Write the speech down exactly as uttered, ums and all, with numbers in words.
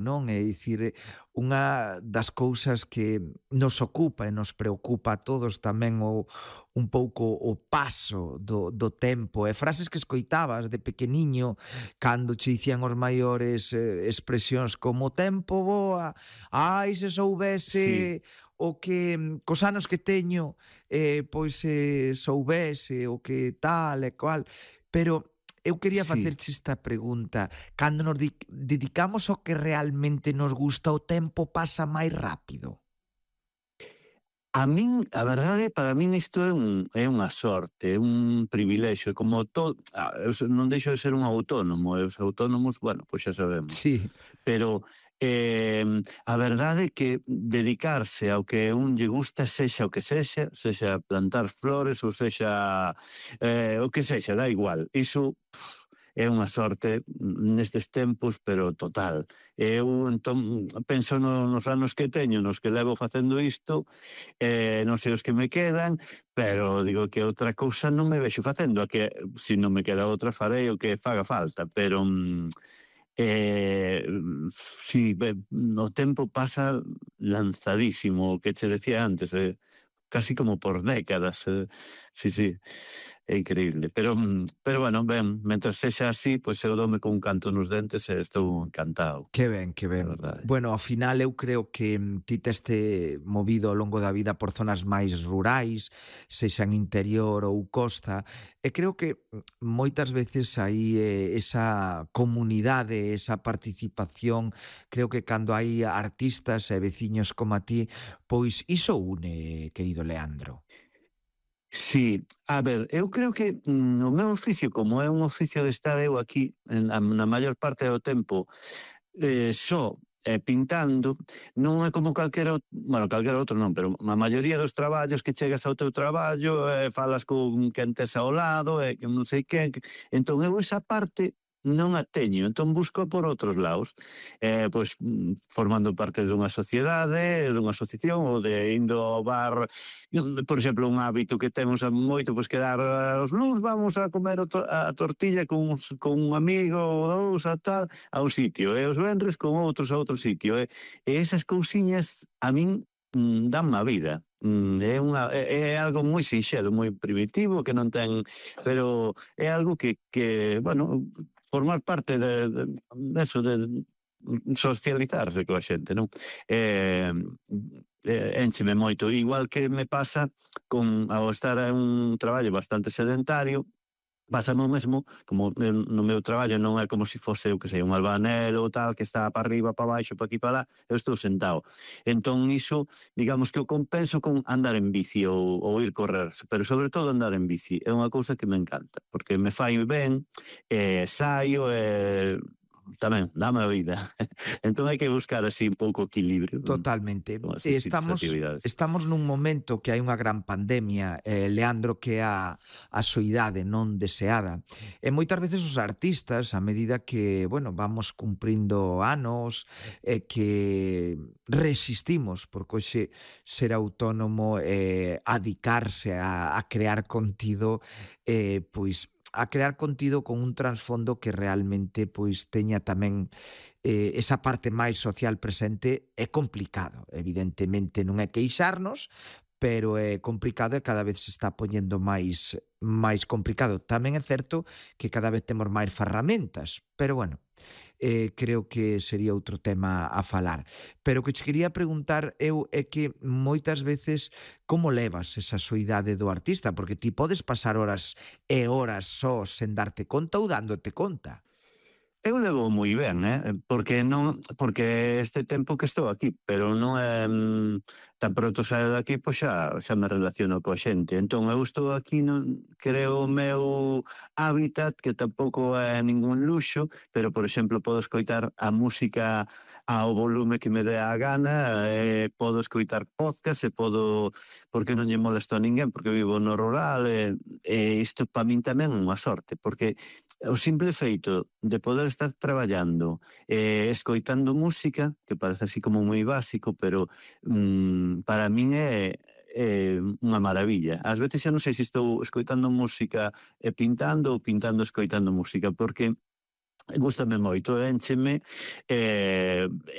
non? É dicir, unha das cousas que nos ocupa e nos preocupa a todos tamén o un pouco o paso do do tempo e frases que escoitabas de pequeniño cando che dicían os maiores eh, expresións como "o tempo voa, ai se Sí, soubese o que mm, cos anos que teño, eh, pois se soubese o que tal e cual", pero eu quería sí. facerche esta pregunta. Cando nos di dedicamos ao que realmente nos gusta, o tempo pasa máis rápido? A min, a verdade, para min isto é un é unha sorte, é un privilexio, como todo, ah, eu se non deixo de ser un autónomo, e os autónomos, bueno, pois xa sabemos. Sí. Pero, eh, a verdade é que dedicarse ao que un lle gusta, sexa o que sexa, sexa plantar flores ou sexa, eh, o que sexa, dá igual. Iso é unha sorte nestes tempos, pero total. Eu, entón, penso no, nos anos que teño, nos que levo facendo isto, eh, non sei os que me quedan, pero digo que outra cousa non me vexo facendo, a que se non me queda outra farei o que faga falta, pero mm, eh, si, be, o tempo pasa lanzadísimo, o que che decía antes, eh, casi como por décadas, eh, sí, sí. É increíble, pero mm, pero bueno, ben, mentres sexa así, pois eu doume cun canto nos dentes e estou encantado, Que ben, que a ben. verdade. Bueno, ao final eu creo que mm, ti teste movido ao longo da vida por zonas máis rurais, sexan interior ou costa, e creo que mm, moitas veces aí eh, esa comunidade, esa participación, creo que cando hai artistas e veciños como a ti, pois iso une, querido Leandro. Sí, a ver, eu creo que mm, o meu oficio, como é un oficio de estar eu aquí en, a, na maior parte do tempo eh, só eh, pintando, non é como calquera, out- bueno, calquera outro non, pero a maioría dos traballos que chegas ao teu traballo, eh, falas con quen tes ao lado, e que non sei quen, que... entón eu esa parte non a teño, entón busco por outros lados, eh, pois mm, formando parte dunha sociedade, dunha asociación, ou de indo ao bar, mm, por exemplo, un hábito que temos a moito, pois quedar eh, os luns vamos a comer o to- a tortilla con, uns- con un amigo ou dous a tal, a un sitio, e os venres con outros a outro sitio, e, e esas cousiñas a min mm, danme a vida. Mm, é, unha, é, é algo moi sinxelo, moi primitivo, que non ten, pero é algo que, que bueno, formar parte de, de, de eso, de socializarse coa xente, non? Eh, eh, éncheme moito, igual que me pasa con ao estar en un traballo bastante sedentario. Pásame o mesmo, como eu no meu traballo non é como se fose, eu que sei, un albanel ou tal, que está para arriba, para baixo, para aquí, para lá, eu estou sentado. Entón iso, digamos que o compenso con andar en bici ou, ou ir correr, pero sobre todo andar en bici. É unha cousa que me encanta, porque me fai ben, e saio, e tamén, dame a vida. Entón hai que buscar así un pouco equilibrio con, Totalmente. con E esas tipos de estamos actividades. estamos nun momento que hai unha gran pandemia, eh, Leandro, que é a a soidade non deseada. E moitas veces os artistas, a medida que, bueno, vamos cumprindo anos e que resistimos, porque hoxe ser autónomo e adicarse a a crear contido, eh, pois a crear contido con un trasfondo que realmente pois teña tamén eh, esa parte máis social presente é complicado. Evidentemente non é queixarnos, pero é complicado e cada vez se está poñendo máis máis complicado. Tamén é certo que cada vez temos máis ferramentas, pero bueno, eh, creo que sería outro tema a falar. Pero o que che quería preguntar eu é que moitas veces como levas esa soidade do artista? Porque ti podes pasar horas e horas só sen darte conta ou dándote conta. Eu levo moi ben, eh, porque non porque este tempo que estou aquí, pero non é mm, tan pronto saio de aquí, pois xa xa me relaciono coa xente. Entón eu estou aquí, non creo o meu hábitat, que tampouco é ningún luxo, pero por exemplo podo escoitar a música ao volume que me dé a gana, e podo escoitar podcast, e podo, porque non lle molesto a ninguén, porque vivo no rural, e, e isto para min tamén é unha sorte, porque o simple feito de poder estar traballando e eh, escoitando música, que parece así como moi básico, pero mm, para min é, é unha maravilla. Ás veces xa non sei se estou escoitando música e pintando ou pintando escoitando música, porque Gústame moito, éncheme, eh